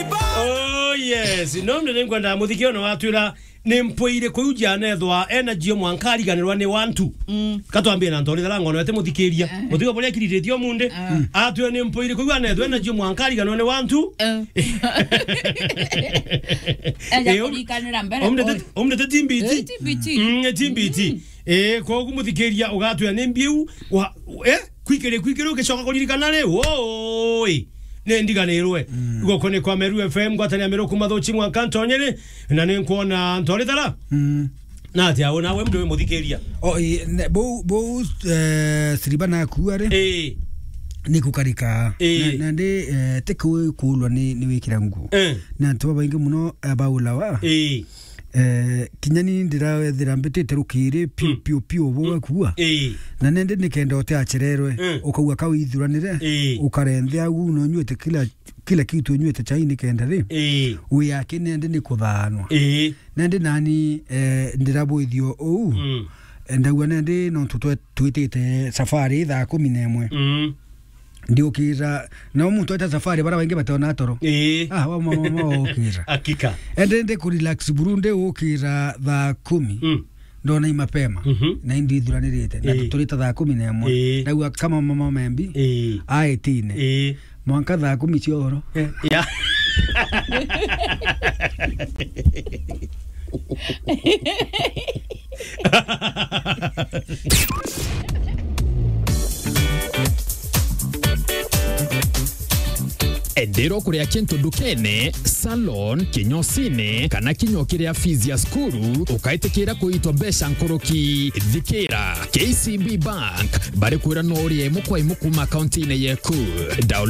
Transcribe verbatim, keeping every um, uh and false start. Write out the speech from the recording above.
Oh, yes. No, ndio ningwenda muthikio na watwira ni mpwiri kuyu janethwa energy mwanka ariganirwa ni wantu. Mm. Katwambie na ntori thara ngono ete muthikiria. Eh. Mutigo buria kiriritie omunde. Ah. Atwe ni mpwiri kuyu anethwa energy mwanka ariganirwa ni wantu. Eh. Eja Eh, om-, kurikanira mbere. Omdete, omdete timbiti. Eh, timbiti. Mm, timbiti. Mm. Eh, kogu muthikiria ugatwira ni mbiu wa, eh, kwikiri, kwikiri ugicoka kuririkana ri, woi, ni ndiganirwe. Mm. Guku ni kwa Meru F M, ngwatanira Meru kuma Thuchi mwanka Ntonyere, na ni nkwona ntori thara. Mm. Na atia, ona we mndu wi muthikiria. O, i, ne, bou, bou, eh, Siriba nakua ri, Eh. ni kukarika. Eh. Na, na ndi, eh, ti ku-, kuulwa ni, ni wikira nguo. Eh. Na antu babaingi muno, eh, baulawa. Eh. Eh, kinya ni ndirethira mbitite rukiri piu, Mm. piu, piu, bo Mm. gakua. Ii. Na nende nikenda utiachererwe, Mm. ukauga kau ithuranire, Ii. ukarenthea au na unyuite kila, kila kitu, unyuite chai nikenda ri. Ii. Wi yake nende ni kuthaanwa. Ii. Nende nani, eh, ndirabwithio uu. Mm. Eh, ndauga nende nontu twe-, twitite safari thaa kumi na imwe. Mm. Ndiukira, na muntu eta safari, bara baingi batona toro. Ii. Ah, wa mama, mama, ukira. Hakika. Ende ndi ku relax buru, ndi ukira thaa kumi. Mm. Ndona i mapema. Mhm. Na indi ithuranirite. Na Ii. tuturite thaa kumi na imwe. Ii. Ndauga kama mama membi, Ii. aetine. Ii. Mwanka thaa kumi cia uhoro. Eh, ya. Endeera kuria kintu ndukene, salon, kinyosine, kana kinya ukiria fees ya cukuru, ukaitikira kuitwa mbeca nkuruki. Thikira, K C B Bank, bari kwira no urie imu kwa imu kuma akaunti-ini yeku. Download